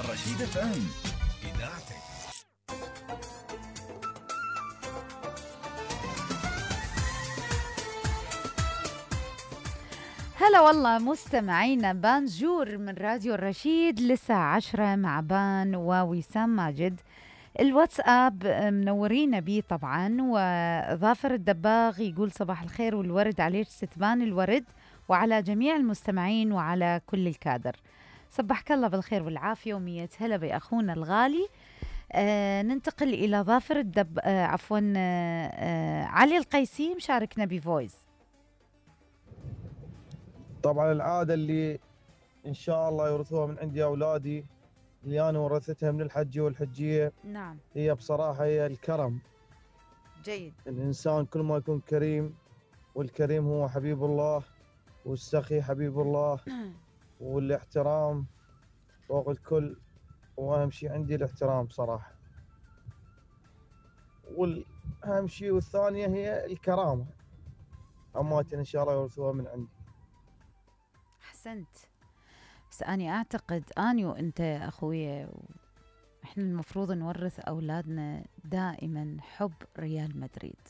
الرشيد اف ام اذاعتك. هلا والله مستمعينا بانجور من راديو الرشيد للساعة 10 مع بان ووسام ماجد. الواتساب منورين بيه طبعا، وظافر الدباغ يقول صباح الخير والورد عليك ستبان الورد وعلى جميع المستمعين وعلى كل الكادر. صبحك الله بالخير والعافية ومية هلا بأخونا الغالي. ننتقل إلى ظافر عفوا علي القيسي مشاركنا بفويس. طبعا العادة اللي إن شاء الله يورثوها من عندي أولادي، اللي أنا ورثتها من الحجة والحجية، نعم هي بصراحة هي الكرم. جيد. الإنسان كل ما يكون كريم، والكريم هو حبيب الله، والسخي حبيب الله، والاحترام فوق الكل. وأهم شيء عندي الاحترام صراحة، والأهم شيء والثانية هي الكرامة. أماتنا إن شاء الله يورثوها من عندي. أحسنت. بس أنا أعتقد أني وأنت أخوي إحنا المفروض نورث أولادنا دائما حب ريال مدريد.